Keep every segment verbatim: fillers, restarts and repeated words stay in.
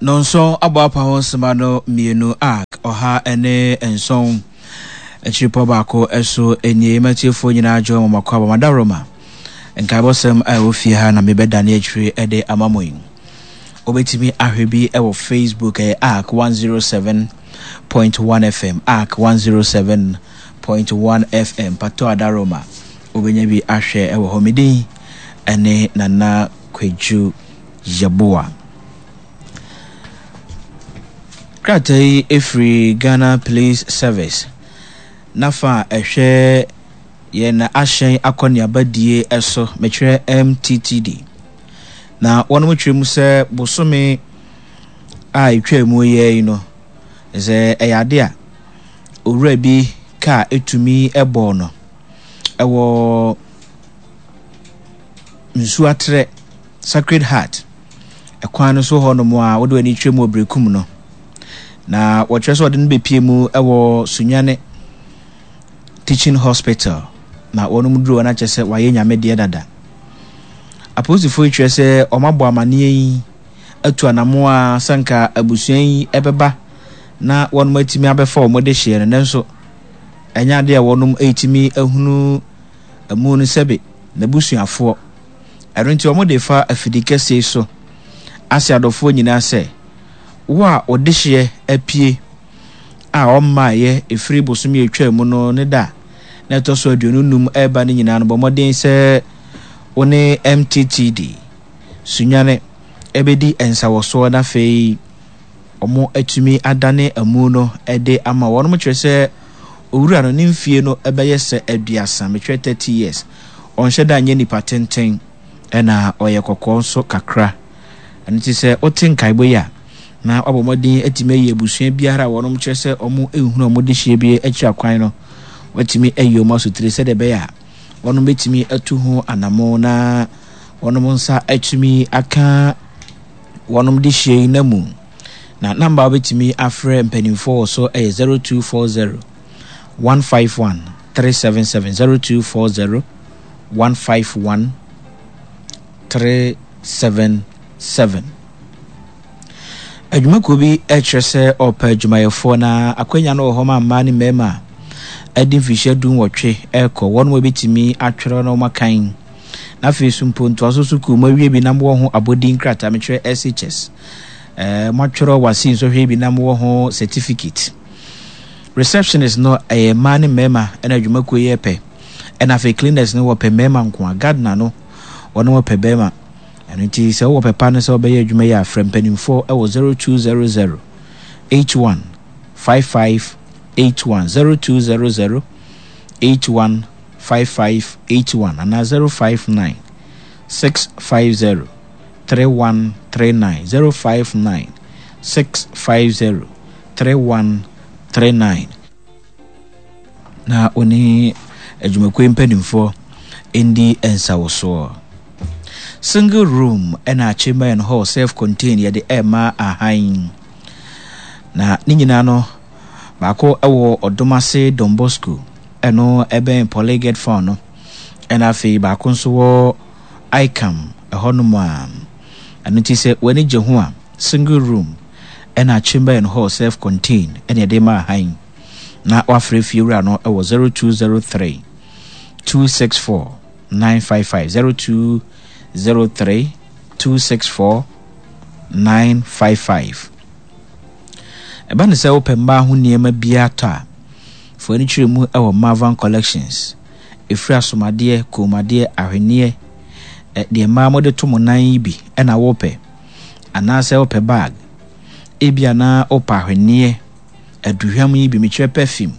Nɔnson abɔ apa ho nsɛm no mmienu a ɔha ne nson akyiripɔ baako so nie. Matiefoɔ nyinaa dwo wɔn akɔ aba madaroma nkaebɔsɛm a ɛwɔ fie ha na mebɛdane akyire de ama mo yi. Wobɛtumi ahwɛ bi wɔ Facebook, ɛyɛ Ark one oh seven point one F M, Ark one oh seven point one F M Pato Adaroma, wobɛnya bi ahwɛ ɛwɔ hɔ. Medin ɛne Nana Kwadwo Yɛboa. Krataa yi ɛfiri Ghana Police Service nafa a ɛhwɛ yɛn ahyɛn akɔneabadie ɛso, mekyerɛ M T T D, na wɔn kyerɛ mu sɛ bosome a ɛtwa mu yɛ yi no sɛ ɛyɛ ade a owura bi kaa ɛtumi ɛbɔɔ no ɛwɔ Nsuatrɛ Sacred Heart ɛkwan no so hɔnom a wode w'ani twɛ mu wɔ Berekum no, na wɔkyerɛ sɛ ɔde no bɛpie mu ɛwɔ Sunyane Teaching Hospital, na wɔn duro wɔn akyɛ sɛ wayɛ Nyame deɛ dada. Apolisifoɔ yi kyerɛ sɛ wɔn abɔ amanneɛ yi atu anamoa sanka abusua yi ɛbɛba na wɔn atumi abɛfa wɔn de hyeɛ no, nanso ɛnyɛ adeɛ a wɔn atumi ahunu amu no sɛbe n'abusuafoɔ. Ɛno nti wɔn de fa afidi kɛseɛ so ase adɔfoɔ nyinaa sɛ wo a wɔde hyeɛ apue a ɔmmaayɛ ɛfiri bosome atwa mu no ne da na ɛtɔ so aduonu num ɛreba no nyinaa no, bɔ mmɔden sɛ wo ne M T T D Sunyane ɛbɛdi nsawɔsoɔ na afei wɔn atumi adane amu no de ama wɔn. Kyerɛ sɛ owura no ne mfie no ɛbɛyɛ sɛ aduasa, metwerɛ thirty years. Ɔnhyɛ da nyɛ nipa tenten, ɛna ɔyɛ kɔkɔɔ nso kakra. Ɛno ti sɛ wote nkaebɔ yi a, na wabɔ mmɔden atumi ayi abusua biara a wɔn kyerɛ sɛ wɔn nhunu wɔn de hyia bi akyiri akwan no, watumi ayi wɔn asotire sɛdeɛ ɛbɛyɛ a wɔn bɛtumi atu ho anamo na wɔn nsa atumi aka wɔn de hyia yi na mu. Na number a wobɛtumi afrɛ mpanimfoɔ wɔ so yɛ zero two four zero one five one three seven seven, zero two four zero one five one three seven seven. Adwumakuo bi kyerɛ sɛ ɔpɛ adwumayɛfoɔ, na akwanya no wɔ hɔ ma mmaa ne mmarima a ɛde mfirihyia du nwɔtwe ɛrekɔ, wɔn a wɔbɛtumi atwerɛ na wɔn akan, na afei so mpo ntoaso sukuu mo awie bi na mowɔ ho abɔdin krataa, mekyerɛ S H S, ɛɛ moatwerɛ WASSCE nsɔhwɛ bi na mowɔ ho certificate. Receptionist no ɛyɛ mmaa ne mmarima ɛna adwumakuo yɛ pɛ, ɛna afei cleaners no wɔpɛ mmarima nko a, gardener no wɔn wɔpɛ barima. Ɛno nti sɛ wowɔ pɛpa no sɛ wobɛyɛ adwuma yi a, frɛ mpanimfoɔ ɛwɔ zero two zero zero eighty-one fifty-five eighty-one, zero two zero zero eighty-one fifty-five eighty-one anaa zero five nine six five zero thirty-one thirty-nine, zero five nine six five zero thirty-one thirty-nine, na wɔne adwumakuo mpanimfoɔ ndi nsawosoɔ. Single room ɛna chamber and hall self contained yɛde ɛma ahan, na ne nyinaa no baako ɛwɔ Ɔdomase Don Bosco, ɛno ɛbɛn Polyget Farm no, ɛna afei baako nso wɔ Icam ɛhɔnom a. Ɛno nti sɛ w'ani gye ho a, single room ɛna chamber and hall self contained ɛna yɛde ma ahan, na wafrɛ fie wura no ɛwɔ zero two zero three two six four nine five five, zero two zero three two six four nine five five. Ɛba ne sɛ wopɛ mmaa ho nneɛma biara tɔ a, fo ani kyerɛ mu ɛwɔ Marvan Collections. Ɛfiri asomadeɛ, kɔnmuadeɛ, ahwenneɛ, deɛ mmaa mode to mo nan yi bi ɛna wopɛ, anaasɛ wopɛ bag ebi, anaa wopɛ ahwenneɛ, aduhwam yi bi, mekyerɛ perfume,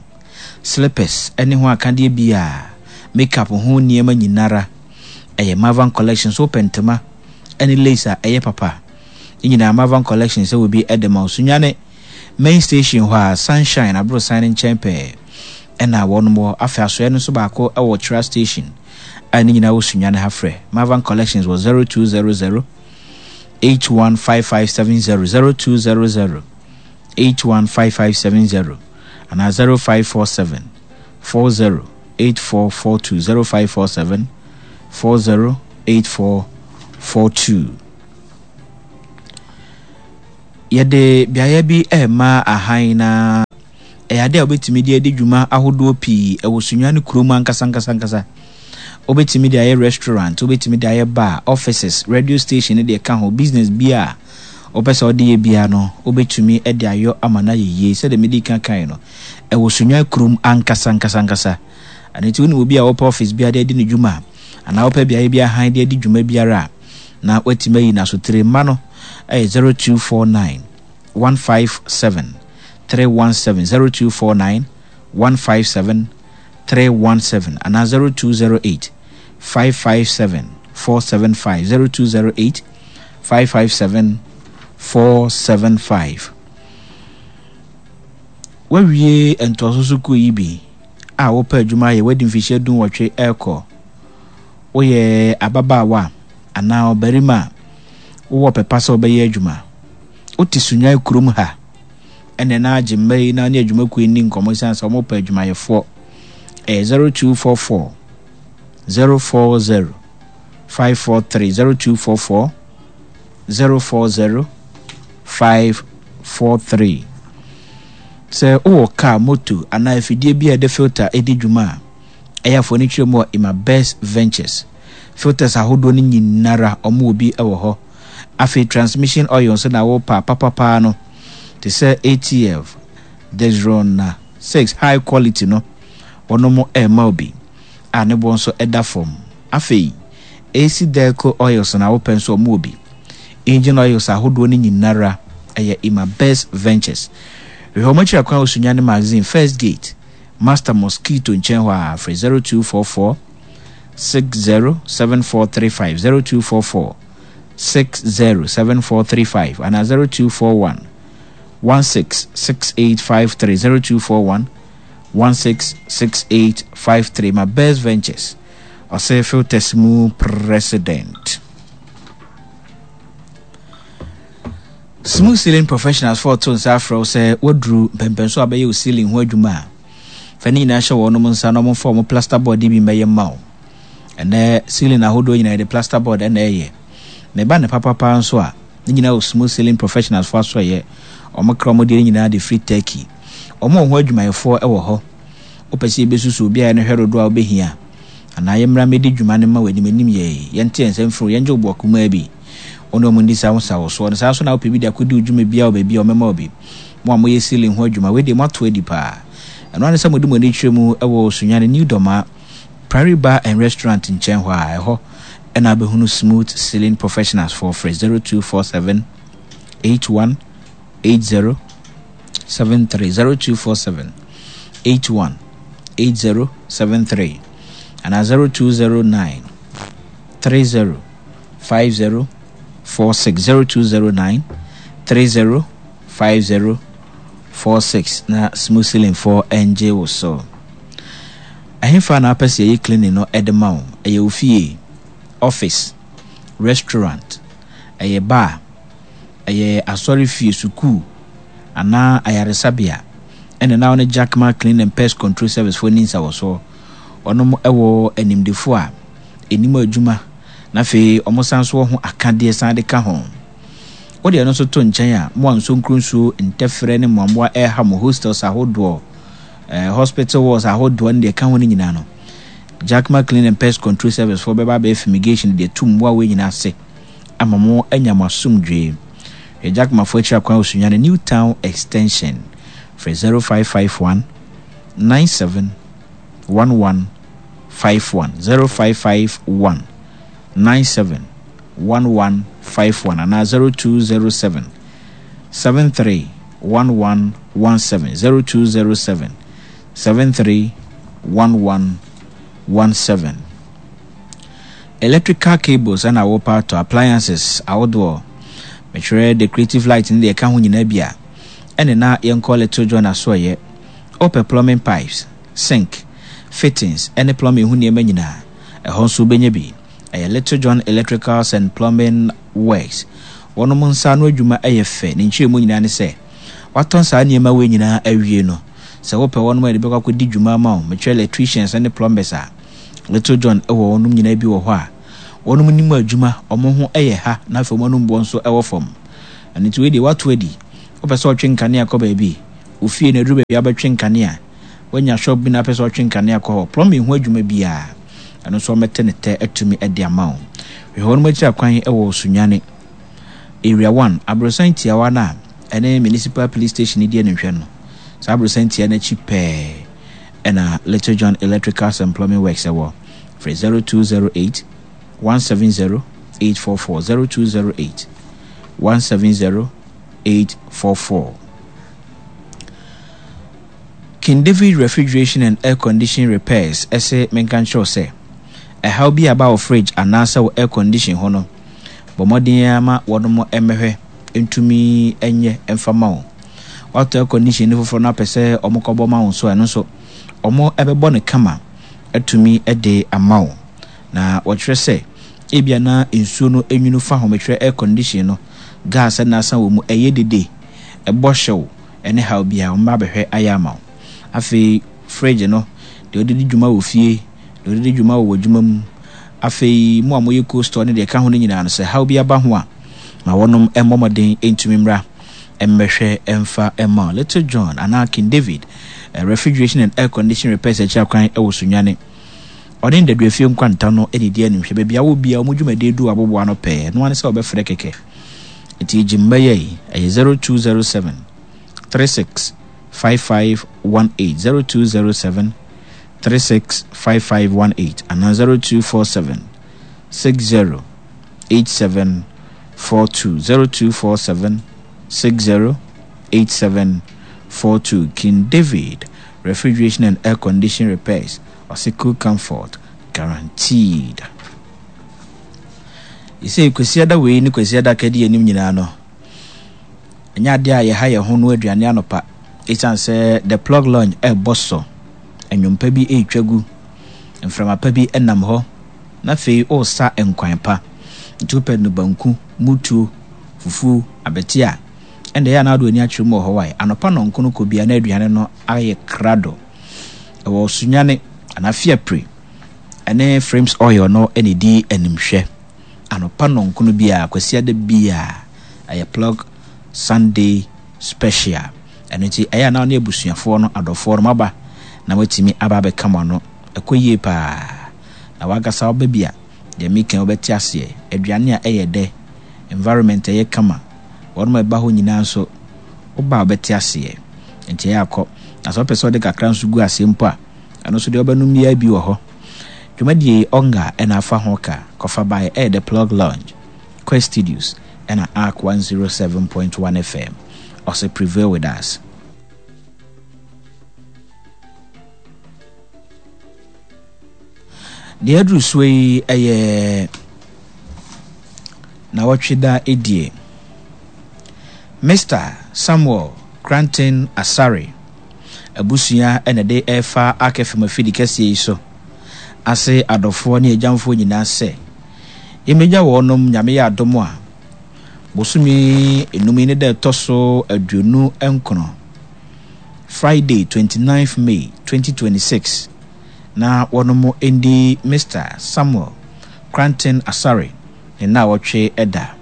slippers ɛne ho akadeɛ bi a makeup ho nneɛma nyinara ɛyɛ Marvan Collections. Wopɛ ntoma ɛne lace a ɛyɛ papa ne nyinaa, Marvan Collections sɛ obi ɛde ma wo. Sunyane Main Station hɔ a Sunshine aborosan no nkyɛn pɛɛ ɛna wɔn wɔ. Afei asoɛ no nso baako ɛwɔ Tra Station a ne nyinaa wɔ Sunyane ha. Frɛ Marvan Collections wɔ zero two zero zero eight one five five seven zero, zero two zero zero eight one five five seven zero anaa zero five four seven four zero eight four four two, zero five four seven four zero eight four four two. Yɛde beaeɛ bi rema ahan na ɛyɛ adeɛ a wobɛtumi de adi dwuma ahodoɔ pii ɛwɔ Sunyani kurom ankasa ankasa ankasa. Wobɛtumi de ayɛ restaurant, wobɛtumi de ayɛ bar, offices, radio station ne deɛ ɛka ho, business bi a wopɛ sɛ wode yɛ biara no, wobɛtumi de ayɔ ama no ayɛ yie. Sɛdeɛ medi kan kae no, ɛwɔ Sunyani kurom ankasa ankasa ankasa. Ɛno nti wonim obi a wɔpɛ office bi de adi ne dwuma anaa wopɛ beaeɛ bi ahan de adi dwuma biara a, na watumi ayi n'asotire mma no ɛyɛ zero two four nine one five seven three one seven zero two four nine one five seven three one seven anaa zero two zero eight five five seven four seven five zero two zero eight five five seven four seven five. Wawie ntoaso sukuu yi bi a wopɛ adwuma ayɛ wadi mfihyia du nwɔtwe ɛrekɔ woyɛ ababaawa anaa ɔbarima a wowɔ pɛpa sɛ wobɛyɛ adwuma wote Sunyani kurom ha ɛnna na agye mma yi na ne adwumakuo yi ni nkɔmmɔ esiane sɛ wɔpɛ adwumayɛfoɔ ɛyɛ zero two four four zero four zero five four three zero two four four zero four zero five four three sɛ wowɔ kaa moto anaa afidie bi a yɛde filter di dwuma a ɛyɛ afɔ ne twerɛ mu wɔ Ima Best Ventures filters ahodoɔ no nyinara ɔmo wɔ bi wɔ hɔ afei transmission oil nso na wɔpa papapaa no te sɛ A T F Dexron six high quality no wɔnom ɛrema obi a ne boɔ nso ɛda fam. Afei A C Delco oils na wopɛ nso ɔmo wɔ bi. Engine oils ahodoɔ no nyinara ɛyɛ Ima Best Ventures. Hwehwɛ ɔmo akyiri akwan wɔ Sunyani Magazine First Gate, Master Mosquito nkyɛn hɔ a frɛ zero two four four six zero seven four three five, zero two four four six zero seven four three five anaa zero two four one one six six eight five three, zero two four one one six six eight five three. Ma Best Ventures ɔsɛ filters mu president. Smooth Ceiling Professionals fo to nsa afrɛ wo sɛ waduru mpɛmpɛnso a bɛyɛ wo ceiling ho adwuma a fa ne nyinaa hyɛ wɔn nsa na wɔmfa wɔn plaster board bi mbɛyɛ mma wo. Ɛnɛ ceiling ahodoɔ nyinaa yɛde plaster board ɛna ɛyɛ na ɛba ne papapa nso a ne nyinaa wɔ Smooth Ceiling Professionals fo aso ɛyɛ wɔn kra wɔn deɛ nyinaa de firi Turkey. Wɔn wɔ ho adwumayɛfoɔ ɛwɔ hɔ. Wopɛ sɛ yɛbɛsusu obi a yɛn hwɛ dodoɔ a wobɛhia anaa yɛmmra mmɛdi dwuma no ma wɔ anim anim yɛ yɛnte yɛn nsɛm firi yɛngye wo boɔ kumaa bi wɔne wɔn ndi saa ho sa wɔ soɔ no. Saa nso na wopɛ bi de akɔdi wo dwuma biara wɔ baabi a wɔmɛma wo bi. Mo a moyɛ ceiling ho adwuma wei deɛ moato adi paa. Ɛno ane sɛ mode mo ani kyerɛ mu wɔ Sunyani New Dɔma Prairie Bar and Restaurant nkyɛn hɔ a ɛhɔ ɛna abɛhunu Smooth Ceiling Professionals foɔ. Frɛ zero two four seven eighty-one eighty seventy-three, zero two four seven eighty-one eighty seventy-three anaa zero two zero nine thirty fifty forty-six, zero two zero nine thirty fifty forty-six na Smooth Ceiling foɔ ɛngye wo so. Ɛhefa na apɛ sɛ yɛyɛ cleaning no ɛde ma wo? Ɛyɛ wo fie, office, restaurant, ɛyɛ bar, ɛyɛ asɔre fie, sukuu anaa ayaresabea, ɛna na wɔne Jackman Clean and Pest Control Service foɔ ni nsa wɔ soɔ. Ɔnom ɛwɔ animdefo a ɛnim adwuma na afei ɔmo san so wɔ ho akadeɛ san de ka ho. Wode ɛno nso to nkyɛn a mo a nsuo nsuo ntɛfrɛ ne mmoamoa ɛreha mo hostels ahodoɔ, eh, hospital wards ahodoɔ ne deɛ ɛka ho no nyinaa no, Jackman Clean and Pest Control Service foɔ bɛba abɛyɛ fumigation deɛ tu mmoa wei nyinaa ase ama mo anya mo asomdwee. Hwɛ Jackman foɔ akyiri akwan wɔ Sunyani New Town Extension. Frɛ zero five five one nine seven one one five one, zero five five one nine seven one one five one anaa zero two zero seven seven three one one one seven, zero two zero seven seven three one one one seven. Electrical cables ɛna wɔpa atɔ appliances ahodoɔ, metwerɛ decorative light ne deɛ ɛka ho nyinaa bi a ɛne na yɛnkɔ Little John asoɔyɛ. Wopɛ plumbing pipes, sink fittings ɛne plumbing ho nneɛma nyinaa, ɛhɔ nso wobɛnya bi. Ɛyɛ Little John Electricals and Plumbing Works. Wɔnom nsa ano adwuma ɛyɛ fɛ. Ne nkyerɛmu nyinaa ne sɛ watɔn saa nneɛma wei nyinaa awie no sɛ wopɛ wɔnom a yɛde bɛkɔ akɔdi dwuma ama wo, metwerɛ electricians ne plumbers a Little John ɛwɔ wɔnom nyinaa bi wɔ hɔ a wɔnom nim adwuma, ɔmo ho ɛyɛ ha na afei wɔn anom boɔ nso ɛwɔ fam. Ɛno nti wei deɛ woato adi. Wopɛ sɛ ɔtwe nkanea kɔ baabi, wo fie no aduru baabi a wobɛtwe nkanea, woanya shop bi na apɛ sɛ ɔtwe nkanea kɔ hɔ, plumbing ho adwuma biara, ɛno nso wɔbɛte ne tɛ atumi de ama wo. Hwehwɛ wɔn akyiri akwan wɔ Sunyani, Area one, aborosan tiawa no a ɛne Municipal Police Station no di animhwɛ no. Saa aborosan tia no akyi pɛɛ ɛna Little John Electricals and Plumbing Works ɛwɔ. Frɛ zero two zero eight one seven zero eight four four zero two zero eight one seven zero eight four four. King David Refrigeration and Air Condition Repairs ɛsɛ menka nkyerɛw sɛ ɛhaw bi aba wɔ fridge anaasɛ wɔ air condition ho no, bɔ mmɔden ara ma wɔnom mmɛhwɛ ntumi nyɛ mfa ma wo. Watɔ air condition no foforɔ no apɛ sɛ wɔn kɔbɔ ma wo nso, ɛno nso wɔn ɛbɛbɔ no kama atumi de ama wo. Na wɔkyerɛ sɛ ebia na nsuo no nwunu fa ho, mekyerɛ air condition no gas na asan wɔ mu, ɛyɛ dede, ɛbɔ hyew, ɛne haw biara wɔn ba abɛhwɛ ayɛ ama wo. Afei fridge no deɛ wɔde di dwuma wɔ fie, deɛ wɔde di dwuma wɔ adwuma mu, afei mo a moyɛ cold store ne deɛ ɛka ho no nyinaa no, sɛ haw bi aba ho a, ma wɔnom mmɔ mmɔden ntumi mmra mmɛhwɛ mfa mma. Little John anaa King David Refrigeration and Air Condition Repairs akyi akwan wɔ Sunyani. Ɔne Ndaduafie nkwanta no ne di animhwɛ. Baabi a wɔ biara wɔn dwumadie du aboboa no pɛɛ no ara ne sɛ wɔbɛfrɛ kɛkɛ. Nti gye mma yi ɛyɛ zero two zero seven three six five five one eight zero two zero seven three six five five one eight anaa zero two four seven six zero eight seven four two zero two four seven six zero eight seven four two. King David Refrigeration and Air Condition Repairs, ɔsɛ cool comfort guaranteed. Yɛsɛ Kwasiada wei ne Kwasiada kadi anim nyinaa no, ɛnyɛ adeɛ a yɛha yɛn ho no aduane anɔpa, ɛsiane sɛ The Plug Lounge ɛrebɔ so, nnwompa bi ɛretwa gu, mframa pa bi ɛnam hɔ, na afei ɔresa nkwan pa. Nti wopɛ no banku, mutuo, fufuo, abɛte a, ɛnna ɛyɛ a na wode w'ani akyerɛ mu wɔ hɔ wae. Anɔpa nɔnko no kɔ bia na aduane no ayɛ krado. Ɛwɔ Sunyani anaa Fiapre ɛne Frames Oil no ɛna ɛdi animhwɛ. Anɔpa nɔnko no biara, Kwasiada biara, ɛyɛ Plug Sunday Special. Ɛno nti ɛyɛ a na ne abusuafoɔ no, adɔfoɔ no maba na wɔatumi aba abɛka mo ano. Ɛkɔ yie paa. Na wankasa woba bi a, deɛ meka wobɛte aseɛ. Aduane a ɛyɛ dɛ, environment ɛyɛ kama, wɔn a ɛba hɔ nyinaa nso, woba a wobɛte aseɛ. Nti ɛyɛ akɔ. Na sɛ wopɛ sɛ wode kakra nso gu aseɛ mpo a, ɛno nso deɛ wobɛnom biara bi wɔ hɔ. Dwumadie Ɔnga ɛna afa ho ka kɔfa baeɛ ɛyɛ The Plug Lounge, Quest Studios ɛna Ark one oh seven point one F M. Ɔsɛ prevail with us. Deɛ aduru soɔ yi ɛyɛ na wɔtwe da edie. Mister Samuel Cranton Asare abusua ɛna de ɛfa Ark F M afidi kɛseɛ yi so ase adɔfoɔ ne agyamfoɔ nyinaa sɛ yɛmmɛgya wɔnom Nyame yɛ adom a bosome enum yi ne da ɛtɔ so aduonu nkron, Friday twenty-ninth May twenty twenty-six, na wɔnom ndi Mister Samuel Cranton Asare ne na wɔtwe ɛda.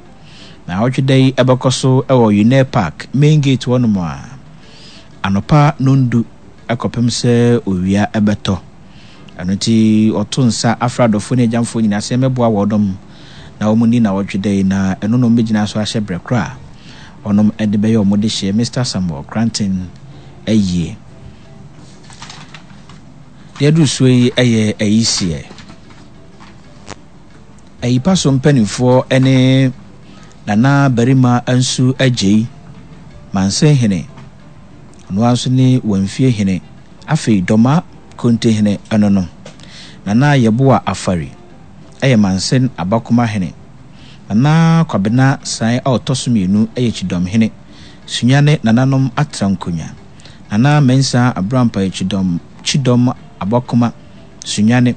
Na wɔtwe da yi ɛbɛkɔ so ɛwɔ Unair Park main gate wɔnom a anɔpa nondu ɛkɔpem sɛ owia ɛbɛtɔ. Ɛno nti ɔto nsa afra adɔfoɔ ne agyamfoɔ nyinaa sɛ mɛboa wɔnom na wɔn ni na wɔtwe da yi, na ɛno na wɔbɛgyina so ahyɛ brɛ koraa wɔnom ɛde bɛyɛ wɔn de hyɛ Mister Samuel Cranton ayie. Deɛ aduru soɔ yi ɛyɛ ayisiɛ. Ayipa so mpanimfoɔ ne Nana Barima Ansu Agyei, Mansenhene, ɔno ara nso ne Wamfiehene, afei Dɔma Kontehene ɛno no. Nana Yeboah Afari ɛyɛ Mansen Abakomahene. Nana Kwabena San a ɔtɔ so mmienu ɛyɛ Kyidɔmhene, Sunyani nananom atra nkonnwa. Nana Mensah Abrampa yɛ Kyidɔm, Kyidɔm Abakoma, Sunyani.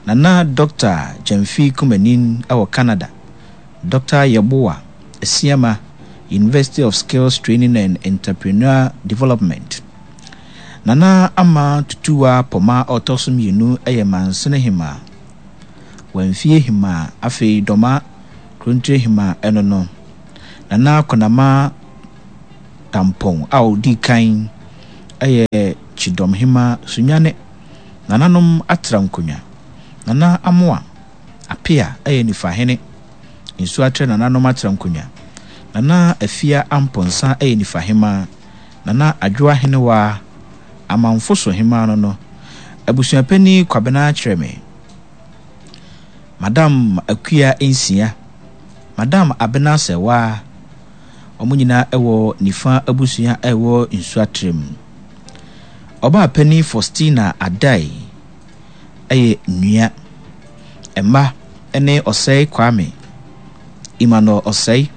Nana Doctor Gyamfi Kumanin ɛwɔ Canada. Doctor Yeboah Asiama, University of Skills Training and Entrepreneur Development. Nana Ama Tutuwa Poma a ɔtɔ so mmienu ɛyɛ Mansene Hema, Wamfie Hema, afei Dɔma Kurontire Hema ɛno no. Nana Konama Tampɔn a ɔdi kan yɛ Kyidɔmhema Sunyane. Nananom atra nkonnwa. Nana Amoa Apea yɛ Nifahene. Nsuatrɛ nananom atra nkonnwa. Nana Afia Amponsah yɛ Nifahema. Nana Adwoa Henewaa, Amanfo so hemaa no no. Abusuapanin Kwabena Kyerɛme. Madam Akua Nsia. Madam Abena Sɛwaa. Wɔn nyinaa wɔ Nifa abusua a ɛwɔ Nsuatrɛ mu. Ɔbaa panin Faustina Adai yɛ nua. Mma ne Ɔsɛe Kwame, Emmanuel Ɔsɛe,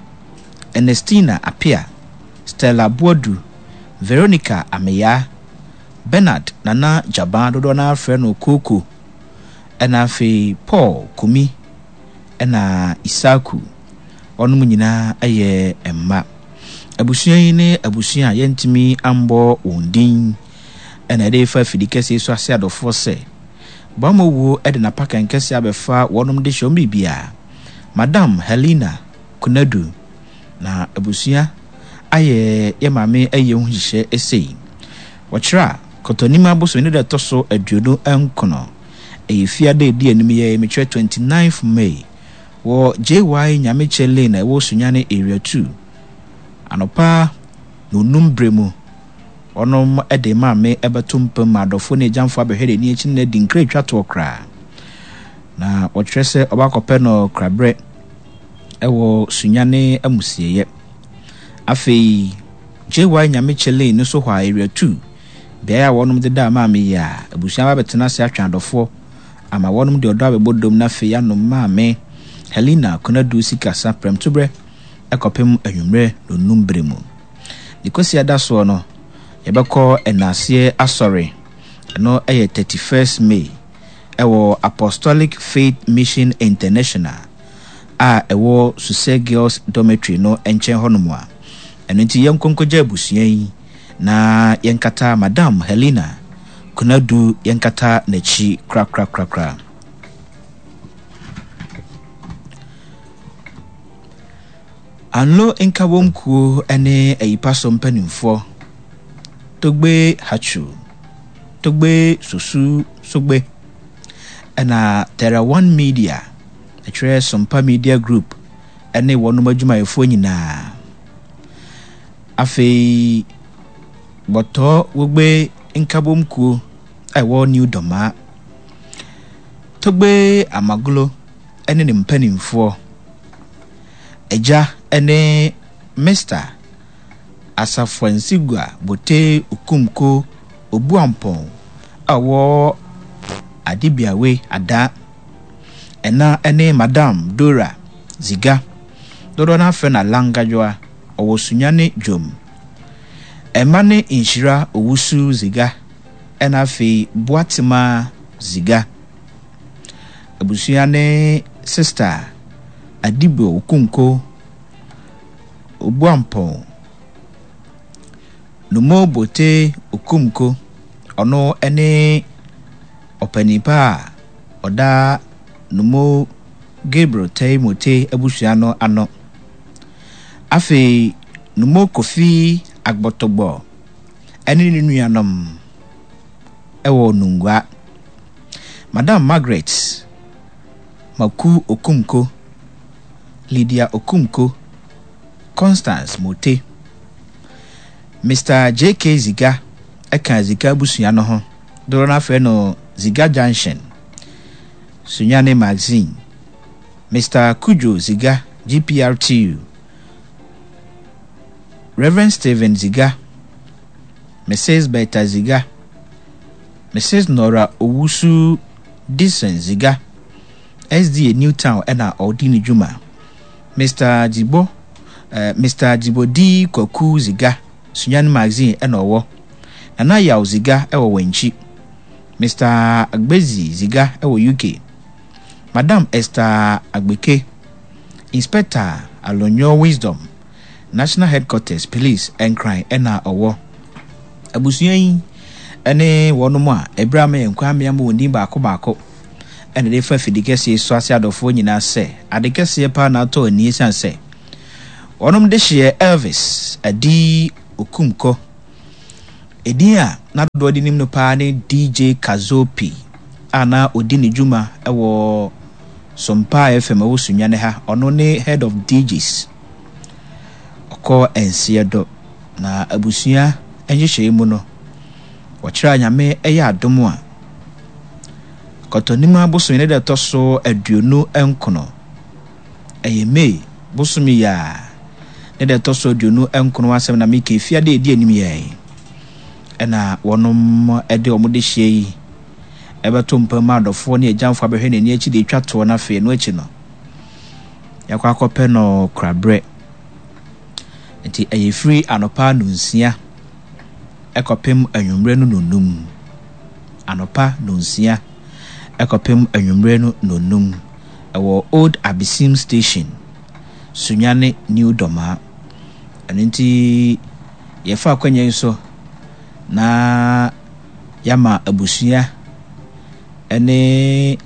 Ernestina Apia, Stella Boadu, Veronica Ameyaa, Bernard Nana Gyaban dodoɔ no ara frɛ no Kooko, ɛna afei Paul Kumi ɛna Isaku. Wɔnom nyinaa yɛ mma. Abusua yi ne abusua a yɛntumi ambɔ wɔn din ɛna ɛde fa afidi kɛseɛ so ase adɔfoɔ sɛ Boamɔ wuo de n'apakan kɛseɛ abɛfa wɔnom de hyɛ wɔn biribiara. Madam Helena Konadu na abusua ayɛ yɛ maame ayie ho nhyehyɛ sei. Wɔkyerɛ a, Kɔtɔnim abosome ne da ɛtɔ so aduonu nkono, ɛyɛ fiada a ɛdi anim yɛ mekyerɛ twenty ninth May wɔ J Y Nyamekyɛ Lane a ɛwɔ Sunyani Area two. Anɔpa nnɔnnum berɛ mu, wɔnom de maame bɛto mpa mu ma adɔfoɔ ne agyamfoɔ abɛhwɛ n'ani akyi ne no adi nkra atwa toɔ koraa. Na wɔkyerɛ sɛ ɔbɛakɔpɛ no koraberɛ wɔ Sunyani amusieeɛ. Afei J Y Nyamekyɛ Lane no so hɔ a Area two, beaeɛ a wɔnom deda maame yi a abusua ba bɛtena ase atwɛn adɔfoɔ ama wɔnom de ɔdɔ abɛbɔ dom na afei anom maame Helena Konadu Sikasa prɛmtoberɛ ɛkɔpem anwummerɛ nonum berɛ mu. Ne Kwasiada soɔ no, yɛbɛkɔ ɛnaaseɛ asɔre. Ɛno ɛyɛ thirty-first May ɛwɔ Apostolic Faith Mission International a ɛwɔ Suse Girls Dormitory no nkyɛn hɔnom a. Ɛno nti yɛnkɔ nkɔgya abusua yi na yɛnkata Madam Helena Konadu yɛnkata n'akyi korakorakorakora. Anlo Nkabom Kuo ne Ayipaso mpanimfoɔ, Togbe Hatsu, Togbe Sosu Sogbe, ɛna Terra One Media, ɛkyerɛ Sompa Media Group ne wɔnom adwumayɛfoɔ nyinaa. Afei, Bɔtɔ Wogbe Nkabom Kuo a ɛwɔ New Dɔmaa, Togbe Amaglo ne ne mpanimfoɔ, Agya ne Mister Asafoansigua Bote Okumko Obuampɔn a ɔwɔ Adebiawe Ada. Ɛna ne Madam Dora Ziga, dodoɔ no afrɛ no Alangadwoa, ɔwɔ Sunyani Dwom. Ɛma ne Nhyira Owusu Ziga, ɛna afei Boatema Ziga. Abusua ne Sister Adibo Okunko Obuampɔn, Numo Bote Okumko, ɔno ne ɔpanin pa a ɔda Numo Gabriel Tei Mote abusua no ano. Afei Numo Kofi Agbɔtɔgbɔ ne ne nuanom wɔ Nungua. Madam Margaret Maku Okumko, Lydia Okumko, Constance Mote. Mister J K Ziga ka Ziga abusua no ho. Dodoɔ no afrɛ no Ziga Junction, Sunyani Magazine. Mister Kujo Ziga, G P R T U. Reverend Stephen Ziga, Missus Bertha Ziga, Missus Nora Owusu Dixon Ziga, S D A New Town ɛna ɔdi ne dwuma. Mister Jibo, uh, Mister Jibodi Kwaku Ziga, Sunyani Magazine ɛna ɔwɔ. Nana Yaw Ziga ɛwɔ Wankyi. Mister Agbezi Ziga ɛwɔ U K. Madam Esther Agbeke, Inspector Alonyo Wisdom, National Headquarters Police Nkran ɛna ɔwɔ. Abusua yi ɛne wɔnom a ɛberɛ ama yɛn kwan mmea ma wɔn din baako baako ɛna de fa afidi kɛseɛ so ase adɔfoɔ nyinaa sɛ ade kɛseɛ paa na atɔ ani esiane sɛ Wɔnom dehyeɛ Elvis Adi Okumkɔ. Edin a na dodoɔ de nim no paa ne D J Kazopi a na ɔdi ne dwuma wɔ Sompa F M ɛwɔ Sunyani ha. Ɔno ne head of D Js. Ɔkɔ nseɛ do na abusua nhyehyɛeɛ mu no, wɔkyerɛ a Nyame ɛyɛ adom a Kɔtɔnim abosome ne da ɛtɔ so aduonu nkono, ɛyɛ May bosome yi a ne da ɛtɔ so aduonu nkono asɛm na meka efiade a ɛdi anim yɛn ɛna wɔnom ɛde wɔn de hyia yi ɛbɛto mpa mu adɔfoɔ ne agyamfoɔ abɛhwɛ n'ani akyi de atwa toɔ. No afei no akyi no, yɛakɔ akɔpɛ no koraberɛ. Nti ɛyɛ firi anɔpa nonsia ɛkɔpem anwummerɛ no nonum, anɔpa nonsia ɛkɔpem anwummerɛ no nonum, ɛwɔ Old Abesim Station, Sunyani New Dɔmaa. Ɛno nti yɛfa akwanya yi so na yɛama abusua ɛne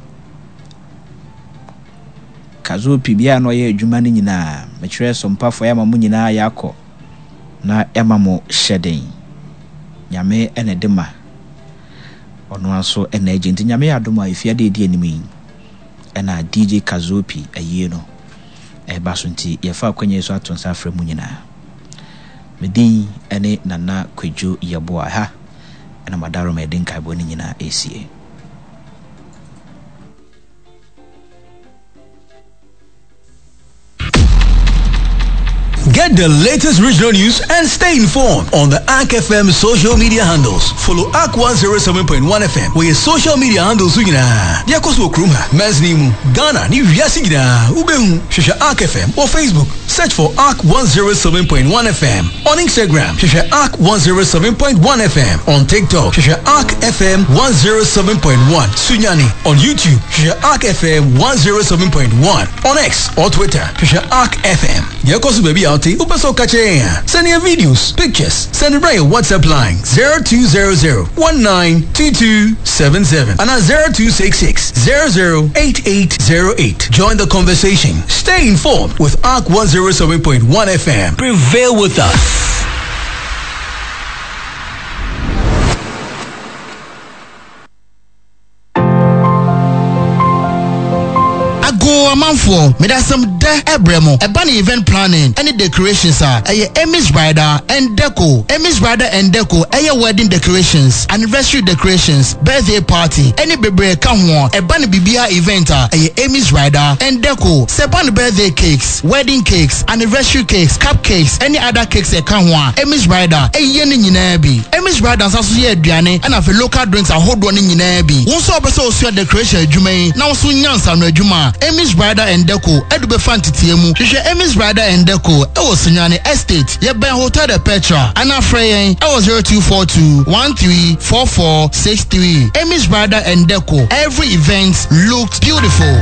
Kazopi bia na ɔyɛ adwuma no nyinaa, mekyerɛ sompafoɔ, yɛama mo nyinaa yɛakɔ na yɛama mo hyɛden. Nyame ɛna ɛde ma, ɔno nso ɛna agye. Nti Nyame yɛ adom a efiade edi anim yi ɛna D J Kazopi ayie no ɛba so. Nti yɛfa akwanya yi so ato nsa afrɛ mu nyinaa. Me din ɛne Nana Kwadwo Yɛboa ha ɛna madaroma yɛde nkaebɔ no nyinaa ɛsie. Get the latest regional news and stay informed on the A R C F M social media handles. Follow A R C one oh seven point one F M wɔ yɛ social media handles so nyinaa. Deɛ ɛkɔ so wɔ kurom ha, mansini mu, Ghana ne wiase nyinaa, wobɛhu. Hwehwɛ A R C F M wɔ Facebook. Search for A R C one oh seven point one F M. On Instagram, hwehwɛ A R C one oh seven point one F M. On TikTok, hwehwɛ A R C F M one oh seven point one Sunyani. On YouTube, hwehwɛ A R C F M one oh seven point one. On X or Twitter, hwehwɛ A R C F M. Deɛ ɛkɔ so baabi a wote, wopɛ sɛ woka kyerɛ yɛn a, send yɛn videos, pictures, send bra yɛn WhatsApp line zero two zero zero one nine two two seven seven and zero two six six zero zero eight eight zero eight. Join the conversation. Stay informed with A R C one oh seven point one F M. Prevail with us. Ago amanfoɔ, mede asɛm dɛ ɛbrɛ mo. Ɛba ne event planning ɛne decorations a, ɛyɛ Amy's Bridal and Deco. Amy's Bridal and Deco ɛyɛ wedding decorations, anniversary decorations, birthday party ɛne bebree ka ho. Ɛba ne biribiara event a, ɛyɛ Amy's Bridal and Deco. Sɛ ɛba ne birthday cakes, wedding cakes, anniversary cakes, cupcakes ɛne other cakes ɛka ho a, Amy's Bridal ɛyɛ ne nyinaa bi. Amy's Bridal nsa so yɛ aduane ɛna afei local drinks ahodoɔ no nyinaa bi. Wo nso a wopɛ sɛ osua decoration adwuma yi na wo nso nya nsano adwuma a, Amy's Bridal and Deco ɛde bɛfa nteteɛ mu. Hwehwɛ Amy's Bridal and Deco ɛwɔ Sunyani Estate, yɛbɛn Hotel de Petra, ana frɛ yɛn ɛwɔ zero two four two one three four four six three. Amy's Bridal and Deco, every event looks beautiful.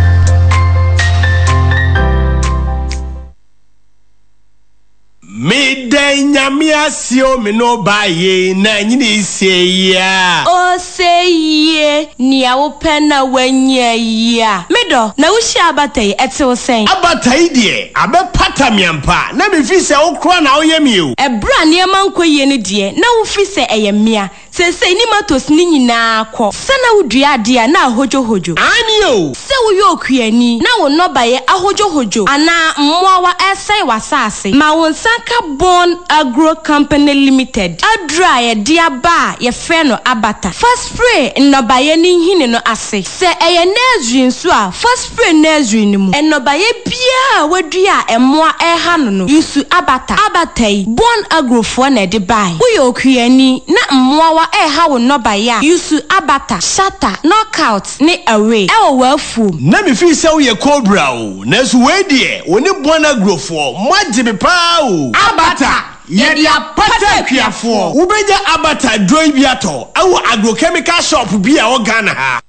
Meda Nyame ase o, me no ba ye na nyini se ya. Ose yie, nea wopɛ na wanya yi a, medɔ na wohyia abata yi, ɛte wo sɛn? Abata yi deɛ, abɛpata me ampa na mefi sɛ wo kora na woyɛ me o. Ɛberɛ a nneɛma nkɔ yie no deɛ, na wofi sɛ ɛyɛ mmea. Seesei ne matos ne nyinaa kɔ sɛ na wodua adeɛ a na ahodwohodwo. Ane o. Sɛ woyɛ okuani na wo nnɔbaeɛ ahodwohodwo anaa mmoawa ɛsɛe w'asase, ma wo nsa ka Bon Agro Company Limited aduro a yɛde aba a yɛfrɛ no Abata. Fa spray nnɔbaeɛ no nhini no ase. Sɛ ɛyɛ nursery nso a, fa spray nursery no mu. Nnɔbaeɛ biara a wadua a mmoa ɛreha no no, use Abata. Abata yi, Bon Agrofoɔ na ɛde bae. Woyɛ okuani na mmoawa ɛreha wo nnɔbaeɛ a, use Abata, Shatter, Knockout ne Away ɛwɔ w'afuom. Na mefii sɛ woyɛ cobra o, nanso wei deɛ, wo ne Bon Agrofoɔ moagye me paa o. Abata, yɛde apata akuafoɔ. Wobɛnya Abata duro yi bi atɔ ɛwɔ agrochemical shop bi a ɛwɔ Ghana ha.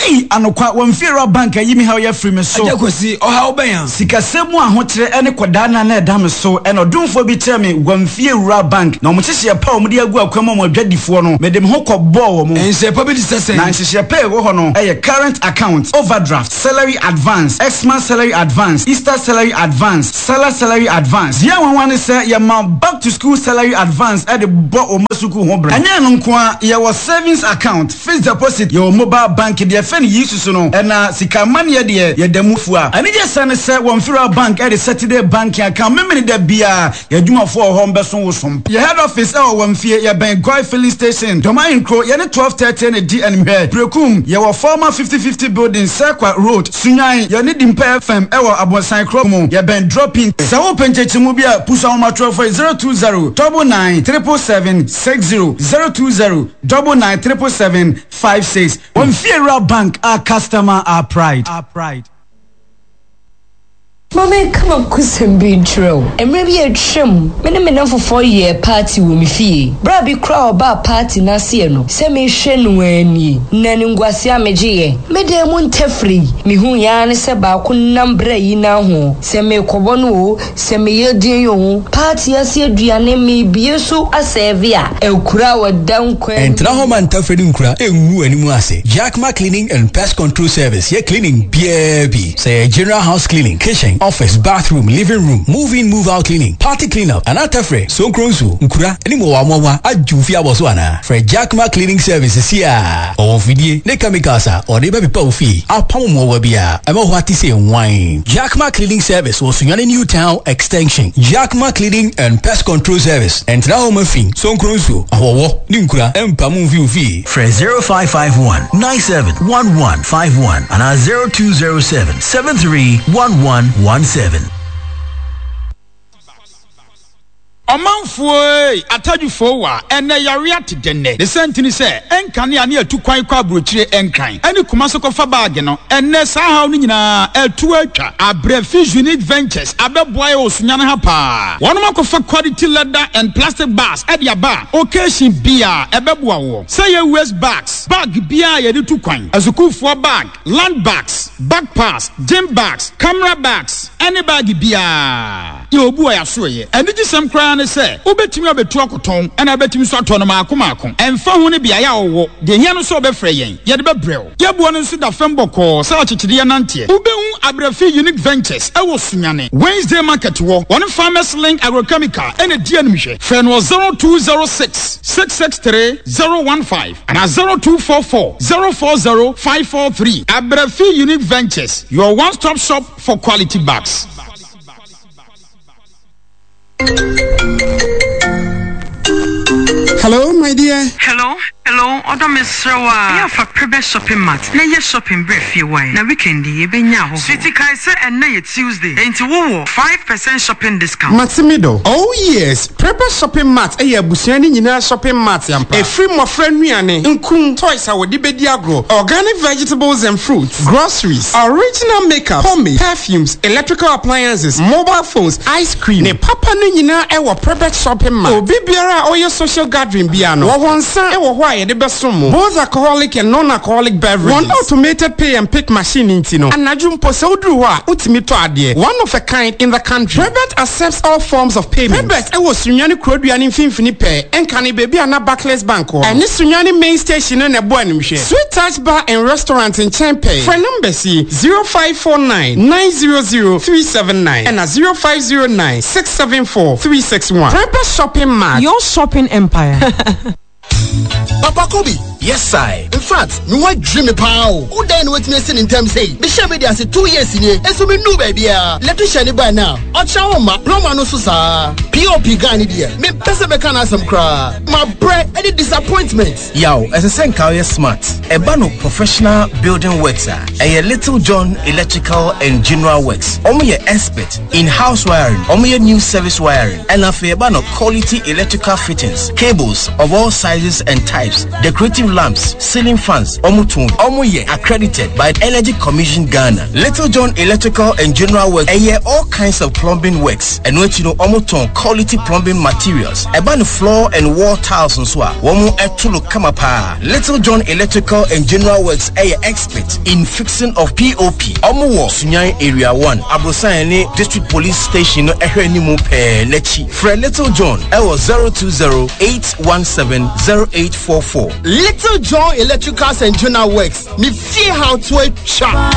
Ei, anokwa, wɔmfiewura bank ayi me haw yɛ afiri me so. Agya Kwasi, ɔhaw bɛn a? Sikasɛm mu ahokyerɛ ɛne kɔdaa na na ɛda me so. Ɛna ɔdomfoɔ bi kyerɛ me wɔmfiewura bank na wɔn nhyehyɛeɛ pa a wɔde agu akwan mu a wɔn adwadifoɔ no, mede me ho kɔbɔɔ wɔn. Nhyehyɛe pa bi te sɛ sɛn? Na nhyehyɛe pa a ɛwɔ hɔ no ɛyɛ current account, overdraft, salary advance, Xmas salary advance, Easter salary advance, Salah salary advance. Deɛ nwanwa ne sɛ yɛma back to school salary advance ɛde bɔ wɔn sukuu ho brɛ. Ɛnyɛ no nko a, yɛwɔ savings account, fixed deposit, yɛwɔ mobile bank deɛ fɛ no yi susu no, ɛna sika amanneɛ deɛ yɛda mu fua. Anigye sɛ ne sɛ wɔn fira bank ɛde Saturday banking account memene da biara yɛadwumafoɔ wɔ hɔ mbɛso wo som. Yɛ head office ɛwɔ wɔn fie, yɛbɛn Goil filling station, Dɔm Ahenkuro, yɛne twelve thirty ne di animhwɛ. Berekum, yɛwɔ former fifty fifty building, Sekwa Road, Sunyani, yɛne Dimpa F M ɛwɔ Abonsan kuro mu, yɛbɛn Dropping. Sɛ wopɛ nkyɛkyɛmu bi a, pusu ahomatorofoɔ zero two zero double nine triple seven six zero zero two zero double nine triple seven five six. Wɔn fiewura bank, our customer, our pride. Our pride. Maame, kama kusɛm bi nkyerɛ wo. Mmerɛ bi atwam, me ne me namfofoɔ yɛɛ party wɔ me fie. Berɛ a bi koraa ɔbaa party n'aseɛ no, sɛ mehwɛ no anie na ne nguase a megyeeɛ. Me dan mu ntɛfiri mehu yaa ne sɛ baako nam berɛ yi na ho sɛ mekɔbɔ no o, sɛ meyɛ din o, party ase aduane mebie so asɛɛve a akura a wɔda nkwan. Ɛntena hɔ ma ntafiri ne nkura ɛngu anim ase. Jackma Cleaning and Pest Control Service yɛ cleaning biara bi, sɛ yɛ general house cleaning, kitchen, office, bathroom, living room, move in, move out cleaning, party clean up, anaa tɛfrɛ sonkron nsuo, nkura ne mmoawa agye fie abɔ so anaa, frɛ Jackma Cleaning Service si a ɔwɔ mfidie ne chemicals a ɔde bɛpepa wo fie apam mmoawa bi a ɛma hɔ ate sɛ nwan. Jackma Cleaning Service wɔ Sunyani New Town Extension. Jackma Cleaning and Pest Control Service, ɛntena hɔ ma fi, sonkron nsuo, ahɔwɔ ne nkura ɛmpam mfi wo fie. Frɛ zero five five one nine seven one one five one and zero two zero seven seven three one one one seven. Ɔmanfoɔ atadwofoɔ wa ɛnɛ yare ate dɛnɛ ne sɛntini sɛ ɛnkanea ne atu kwan kɔ aburokyire, ɛnkran ɛne kuma so kɔfa baage no. Ɛnɛ saa haw no nyinaa ɛtu atwa. Abrɛfi Unique Ventures abɛboa yɛ wɔ Sunyani ha paa. Wɔnom akɔfa quality leather and plastic bags ɛde aba a occasion bia ɛbɛboa wɔ sɛ yɛ waste bags, bag biara yɛde tu kwan, asukuufoɔ bag, land bags, backpacks, gym bags, camera bags, ɛne bag biara yɛ obu a yɛaso yɛ. Anigye sɛm koraa ne sɛ wobɛtumi abɛtu akɔtɔn, ɛna wobɛtumi nso atɔ no maako maako, ɛmfa ho ne beaeɛ a wɔwɔ. Deɛ hia no sɛ wobɛfrɛ yɛn, yɛde bɛbrɛ wo. Yɛboɔ no nso da fam bɔkɔɔ sɛ akyekyedeɛ nanteɛ. Wobɛhu Abrɛfi Unique Ventures ɛwɔ Sunyani Wednesday market wɔ wɔne Farmers Link Agrochemical ɛna di animhwɛ. Frɛ no wɔ zero two zero six six six three zero one five anaa zero two four four zero four zero five four three. Abrɛfi Unique Ventures, your one stop shop for quality bags. Hello, my dear. Hello, hello, ɔdɔ, mesrɛ wo a ɛyɛ afa Prebɛ Shopping Mart na ɛyɛ shopping berɛ fie wae na weekend yi yɛbɛnya ahɔhoɔ. Sweetie, kae sɛ ɛnnɛ yɛ Tuesday, enti wowɔ five percent shopping discount. Matimido. Oh yes, Prepare Shopping Mart ɛyɛ abusua ne nyinaa shopping mart ampa. Ɛfiri mmɔfra nnuane, nkum, toys a wɔde bɛdi agorɔ, organic vegetables and fruits, groceries, original makeup, pomade, perfumes, electrical appliances, mobile phones, ice cream. Ne papa no nyinaa ɛwɔ Prepare Shopping Mart. Obi biara a ɔyɛ social gathering bia no, wɔwɔ nsa ɛwɔ hɔ a yɛde bɛsom mo. Both alcoholic and non-alcoholic beverages. Wɔn automated pay and pick machine nti no, anadwo mpo sɛ woduru hɔ a, wotumi tɔ adeɛ. One of a kind in the country. Prebet accepts all forms of payment. Prebet ɛwɔ Sunyani kurodua ne mfimfini pɛɛ, ɛnka ne baabi a na Barclays Bank wɔ. Ɛne Sunyani main station no na ɛbɔ animhwɛ. Sweet Touch Bar and Restaurant nkyɛn pɛɛ. Frɛ numbers yi: zero five four nine nine zero zero three seven nine ɛna zero five zero nine six seven four three six one. Prebet Shopping Mart. Your shopping empire. Papa Kobi. Yes, I. In fact, me wa dream me paa o. Wo dan na watumi asi ne ntɛm sei? Mehyɛ me de ase two years nie. Nso me nu baabi a. Electrician ni by now. Ɔkyerɛ wo ma. Plumber no so saa. P O P guy ni deɛ. Me pɛ sɛ mɛka n'asɛm koraa. Ma brɛ ɛne disappointment. Yaw, ɛsɛ sɛ nka woyɛ smart. Ɛba no professional building works a, ɛyɛ Little John Electrical and General Works. Ɔmo yɛ expert in house wiring. Ɔmo yɛ new service wiring. Ɛna afei ɛba no quality electrical fittings, cables of all sizes and types, decorative lamps, ceiling Ceiling fans, ɔmo tɔn. Ɔmo yɛ accredited by Energy Commission Ghana. Little John Electrical and General Works ɛyɛ all kinds of plumbing works. Ɛno akyi no, ɔmo tɔn quality plumbing materials. Ɛba no floor and wall tiles nso a, wɔn ɛto no kama paa. Little John Electrical and General Works ɛyɛ expert in fixing of P O P. Ɔmo wɔ Sunyani Area one, Abrosan ne District Police Station no ɛhwɛ anim pɛɛ n'akyi. Frɛ Little John ɛwɔ zero two zero eight one seven zero eight four four. Little John Electricals and General Works, me fie how to atwa.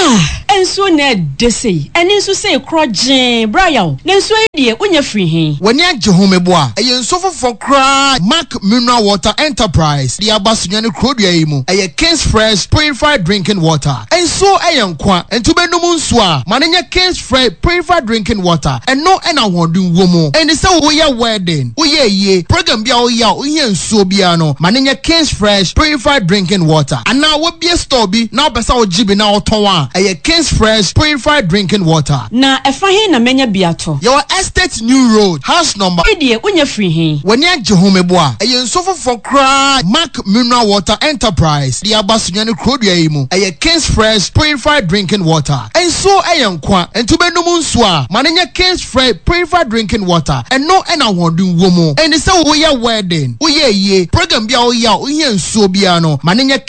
Ah, nsuo na ɛde sei ɛne nso sei korɔ gyee brayaw na nsuo yi deɛ, wonya firi he? W'ani agye ho meboa. Ɛyɛ nsuo foforɔ koraa Mark Mineral Water Enterprise de aba Sunyani kurodua yi mu. Ɛyɛ Kings Fresh Purified Drinking Water. Nsuo ɛyɛ nkwa, nti wobɛnum nsuo a, ma no nyɛ Kings Fresh Purified Drinking Water. Ɛno ɛna ahoɔden wɔ mu. Ɛnti sɛ woyɛ wedding, woyɛ yie program bi a woyɛ a wohia nsuo biara no, ma no nyɛ Kings Fresh Purified Drinking Water. Anaa wobie store bi na wopɛ sɛ wogye bi na wotɔn a, ɛyɛ Kings Fresh Purified Drinking Water. Na ɛfa he na mɛnya bi atɔ? Yɛwɔ Estate New Road, house number. Yi deɛ, wonya firi he? W'ani agye ho meboa. Ɛyɛ nsuo foforɔ koraa Mark Mineral Water Enterprise de aba Sunyani kurodua yi mu. Ɛyɛ Kings Fresh Purified Drinking Water. Nsuo ɛyɛ nkwa, nti wobɛnum nsuo a, ma no nyɛ Kings Fresh Purified Drinking Water. Ɛno ɛna ahoɔden wɔ mu. Ɛnti sɛ woyɛ wedding, woyɛ yie program bi a woyɛ a wohia nsuo biara no, ma no nyɛ